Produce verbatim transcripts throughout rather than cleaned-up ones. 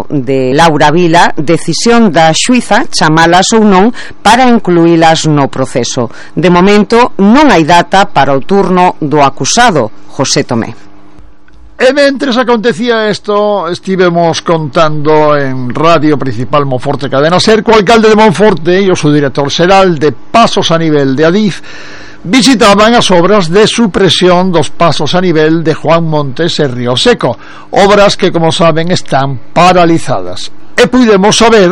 de Laura Vila, decisión da xuíza chamalas ou non para incluílas no proceso. De momento non hai data para o turno do acusado, José Tomé. E mentres acontecía isto, estivemos contando en Radio Principal Monforte Cadena Ser co alcalde de Monforte e o seu director xeral de Pasos a Nivel de Adif visitaban as obras de supresión dos pasos a nivel de Juan Montes e Río Seco, obras que, como saben, están paralizadas. E puidemos saber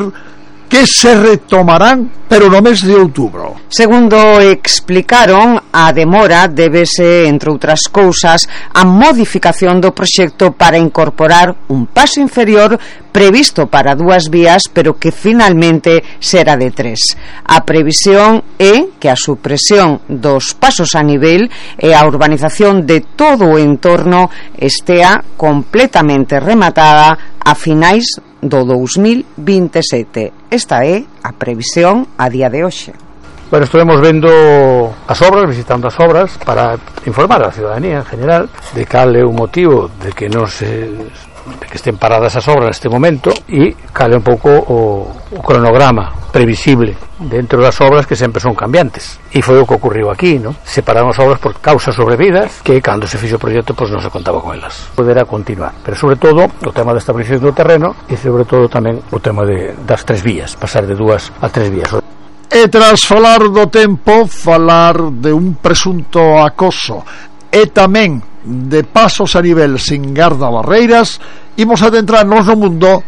que se retomarán, pero no mes de outubro. Segundo explicaron, a demora débese, entre outras cousas, a modificación do proxecto para incorporar un paso inferior previsto para dúas vías, pero que finalmente será de tres. A previsión é que a supresión dos pasos a nivel e a urbanización de todo o entorno estea completamente rematada a finais do dous mil vinte e sete. Esta é a previsión a día de hoxe. Bueno, estaremos vendo as obras, visitando as obras para informar a ciudadanía en general de cal é o motivo de que non se de que estén paradas as obras neste momento e cal é un pouco o, o cronograma previsible dentro das obras que sempre son cambiantes. E foi o que ocurriu aquí, ¿no? Se pararon as obras por causas sobrevidas que cando se fixo o proxecto pois non se contaba con elas. Poderá continuar, pero sobre todo o tema da estabilización do terreno e sobre todo tamén o tema de, das tres vías, pasar de dúas a tres vías. E tras falar do tempo, falar de un presunto acoso e tamén de pasos a nivel sin garda barreiras, imos adentrarnos no mundo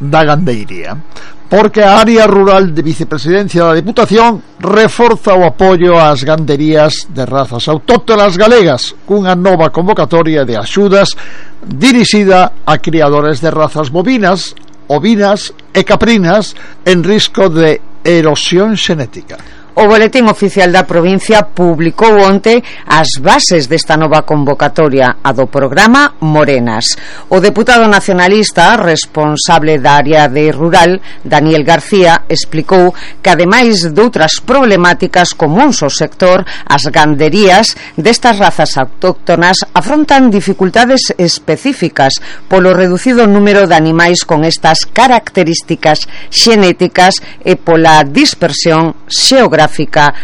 da gandeiría, porque a área rural de Vicepresidencia da Diputación reforza o apoio ás ganderías de razas autóctonas galegas cunha nova convocatoria de axudas dirixida a criadores de razas bovinas, ovinas e caprinas en risco de erosión xenética. O Boletín Oficial da Provincia publicou onte as bases desta nova convocatoria, a do programa Morenas. O deputado nacionalista responsable da área de rural, Daniel García, explicou que ademais de outras problemáticas comuns ao sector, as ganderías destas razas autóctonas afrontan dificultades específicas polo reducido número de animais con estas características xenéticas e pola dispersión xeográfica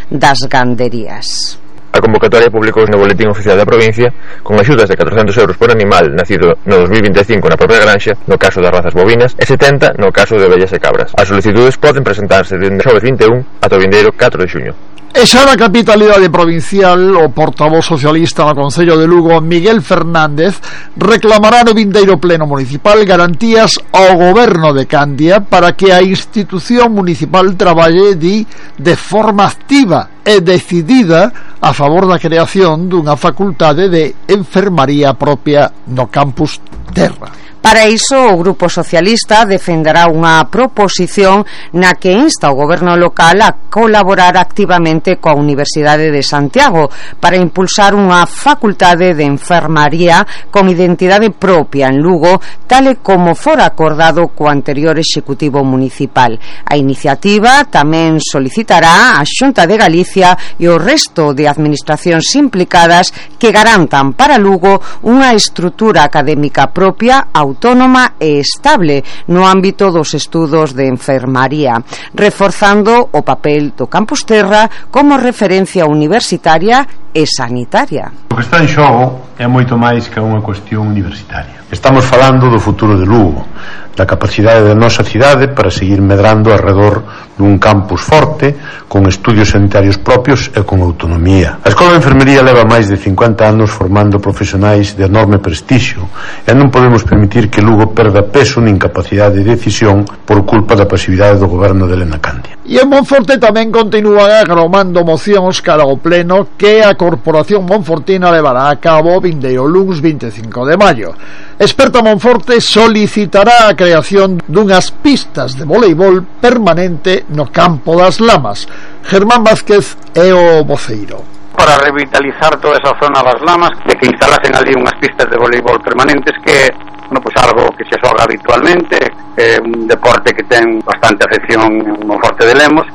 das ganderías. A convocatoria publicouse no Boletín Oficial da Provincia con axudas de catrocentos euros por animal nacido no dos mil vinte e cinco na propia granxa, no caso das razas bovinas, e setenta no caso de ovellas e cabras. As solicitudes poden presentarse dende o xoves vinte e un ata o vindeiro catro de xuño. E xa na capitalidade provincial, o portavoz socialista no Concello de Lugo, Miguel Fernández, reclamará no vindeiro pleno municipal garantías ao goberno de Candia para que a institución municipal traballe di, de forma activa e decidida a favor da creación dunha facultade de enfermaría propia no campus Terra. Para iso, o Grupo Socialista defenderá unha proposición na que insta o goberno local a colaborar activamente coa Universidade de Santiago para impulsar unha facultade de enfermaría con identidade propia en Lugo, tal e como fora acordado co anterior Executivo Municipal. A iniciativa tamén solicitará a Xunta de Galicia e o resto de administracións implicadas que garantan para Lugo unha estrutura académica propia, autónoma e estable no ámbito dos estudos de enfermaría, reforzando o papel do Campus Terra como referencia universitaria e sanitaria. O que está en xogo é moito máis que unha cuestión universitaria. Estamos falando do futuro de Lugo, da capacidade da nosa cidade para seguir medrando alrededor dun campus forte, con estudios sanitarios propios e con autonomía. A Escola de Enfermería leva máis de cincuenta anos formando profesionais de enorme prestixio e non podemos permitir que Lugo perda peso nin capacidade de decisión por culpa da pasividade do goberno de Elena Candia. E en Monforte tamén continúan agromando mocións cara ao pleno que a Corporación Monfortina levará a cabo vindeiro luns vinte e cinco de maio. Experta Monforte solicitará a creación dunhas pistas de voleibol permanente no campo das Lamas. Germán Vázquez é o voceiro. Para revitalizar toda esa zona das Lamas, de que instalasen ali unhas pistas de voleibol permanentes, que bueno, pues algo que se xoga habitualmente, é un deporte que ten bastante afección en Monforte de Lemos.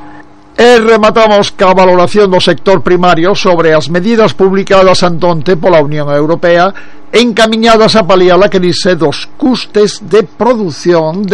E rematamos ca valoración do sector primario sobre as medidas publicadas antonte pola Unión Europea encamiñadas a paliar a crise dos custes de produción de